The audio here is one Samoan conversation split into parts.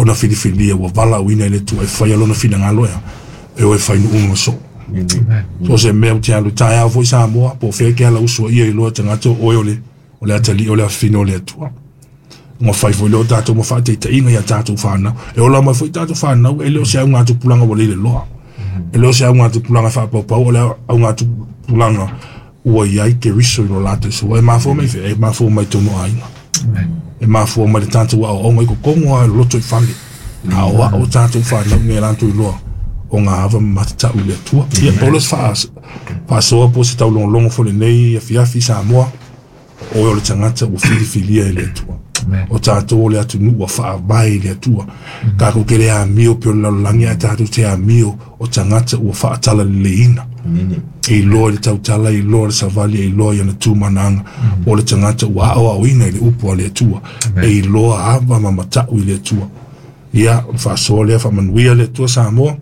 ona filifilia ua valaauina e le Atua e faia lona finagalo ea e o e fai nuu ma soo. So o se mea ou te alu taeao foi Samoa po o fea e te ala usoia iloa e tagata o oe o le o le atalii o le afafine o le Atua. Ua fai foi lea o tatou ma faataitaiga i a tatou fanau. E ola mai foi tatou fanau, e le o se augatupulaga ua lele loa. E le o se augatupulaga faapaupau, o le augatupulaga ua i ai Keriso i lo latou soifua. E mafua mai fea? E mafua mai tonu aiga. E mafua mai le tatou aoaoga i totonu lava i le loto i fale. Aoao tatou fanau ina ia latou iloa o ngā ava ma matatau i le Atua. Ia, pau lea o se faasoa po o se taulogologo foi lenei afiafi Samoa. O oe o le tagata ua filifilia e le Atua. O tatou o le atunuu ua faavae i le Atua. Tatou te le amio pei o le lalolagi, ae tatou te amio o tagata ua faatalaleleiina. E iloa i le tautala, e iloa i le savali, e iloa i ana tu ma ana aga. O le tagata ua aoaoina i le upu a le Atua. E iloa ava ma matau i le Atua. Ia, o le faasoa lea, faamanuia le Atua Samoa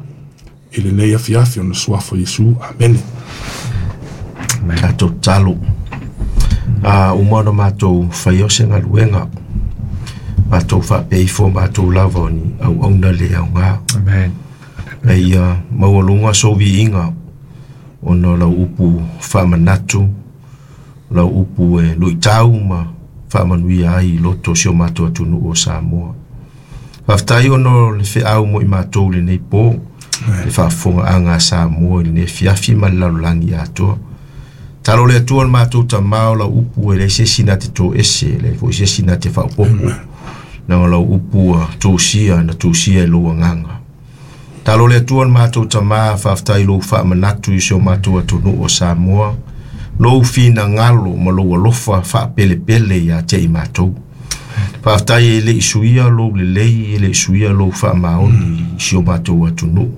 i lenei afiafi ona suafa o Iesu. Amene. Tatou tatalo. A uma ona matou faia o se galuega, matou faapea ifo matou lava o ni auauna le aoga. Amen. A ia maualuga sou viiga ona o lau upu faamanatu, lau upu e luitau ma faamanuia ai i loto o si o matou atunuu o Samoa. Faafetai ona o le feau mo i matou i lenei po, le faafofogaaga a Samoa i lenei afiafi ma le lalolagi atoa. Talo le Atua le matou Tama o lau upu e leai se isi na te toese, e leai foi se isi na te faaopoopo. Leaga o lau upu ua tusia, na tusia e lou agaga. Talo le Atua le matou Tama, faafetai i lou faamanatu i si o matou atunuu o Samoa, lou finagalo ma lou alofa faapelepele ia te i matou. Faafetai e le i suia lou lelei, e le i suia lou faamaoni i si o matou atunuu.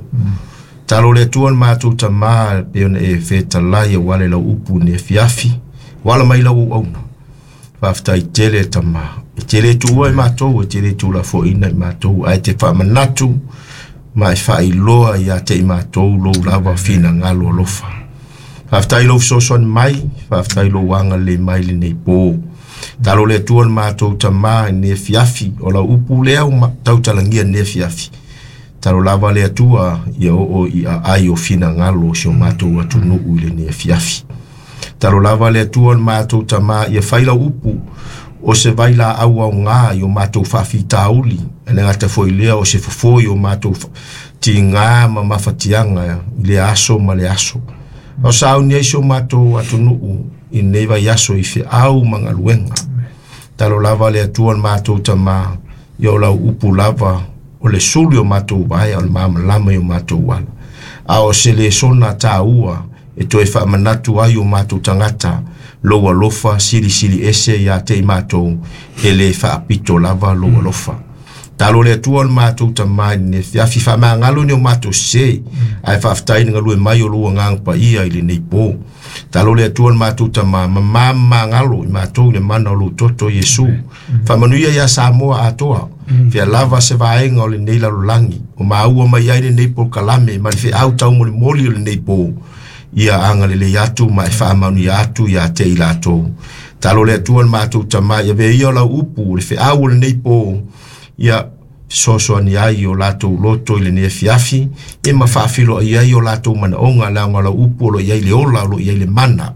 Talo le Atua le matou Tama, pei ona e fetalai aua le lau upu i lenei afiafi, ua ala mai lau auauna. Faafetai tele Tama, e te le tuua i matou, e te le tuulafoaiina i matou, ae te faamanatu ma e faailoa ia te i matou lou lava finagalo alofa. Faafetai i lou fesoasoani mai, faafetai i lou agalelei mai i lenei po. Talo le Atua le matou Tama i lenei afiafi, o lau upu lea ua tautalagia i lenei afiafi. Talo lava le Atua ia oo i aai o finagalo o si o matou atunuu i lenei afiafi. Talo lava le Atua le matou Tama ia fai lau upu o se vailaau aoga i o matou faafitauli, e le gata foi i lea o se fofo i o matou tiga ma mafatiaga i lea aso ma le aso. O sauni ai si o matou atunuu i lenei vaiaso i feau ma galuega. Talo lava le Atua le matou Tama, ia o lau upu lava o le sulu i o matou vae, o le malamalama i o matou ala. A o se lesona taua e toe faamanatu ai o matou tagata lou alofa silisili ese ia te i matou, e le faapito lava lou alofa. Talo le Atua le matou Tama i lenei afiafi, faamagalo ni o matou sese, ae faafetai i le galue mai o lou agaga paia i lenei po. Talo le Atua le matou Tama, mamā mamagalo i matou i le mana o lou toto Iesu. Faamanuia ia Samoa atoa, fea lava se vaega o lenei lalolagi, o maua mai ai lenei polokalame ma le feau taumolimoli o lenei po, ia agalelei atu ma e faamanuia atu ia te i latou. Talo le Atua le matou Tama, ia avea ia lau upu, le feau o lenei po, ia fesoasoani ai i o latou loto i lenei afiafi, ia ma faafiloai ai o latou manaoga, leaga o lau upu o lo o i ai le ola, o lo o i ai le mana.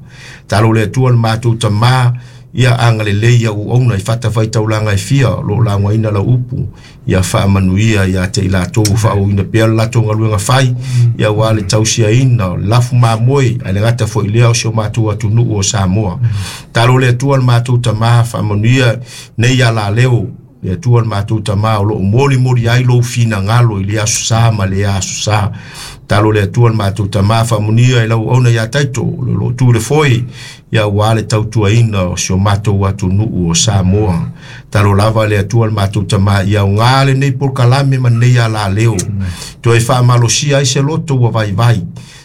Talo le Atua le matou Tama, ia agalelei i au auauna i fatafaitaulaga e fia o lo o laugaina lau upu, ia faamanuia ia te i latou ua faaauauina pea le latou galuega fai, ia aua le tausiaina o le lafu mamoe, ae le gata foi i lea o si o matou atunuu o Samoa. Talo le Atua le matou Tama, faamanuia nei alaleo le Atua le matou Tama o lo o molimoli ai lou finagalo i lea aso sa ma lea aso sa. Talo le Atua le matou Tama, faamanuia i lau auauna ia Taito o lo o tu i le foe, ia aua le tautuaina o si o matou atunuu o Samoa. Talo lava le Atua le matou Tama, ia aoga lenei polokalame ma lenei alaleo, toe faamalosia ai se loto ua vaivai,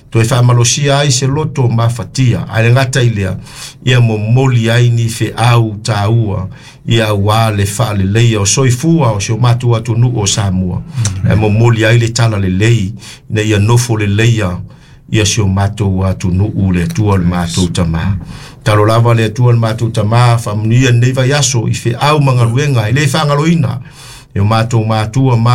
toe faamalosia ai se loto mafatia, ae le gata i lea, ia momoli ai ni feau taua, ia aua le faaleleia o soifua o si o matou atunuu o Samoa, ae momoli ai le talalelei ina ia nofo leleia ia si o matou atunuu le Atua le matou Tama. Talo lava le Atua le matou Tama, faamanuia lenei vaiaso i feau ma galuega e le faagaloina e o matou matua ma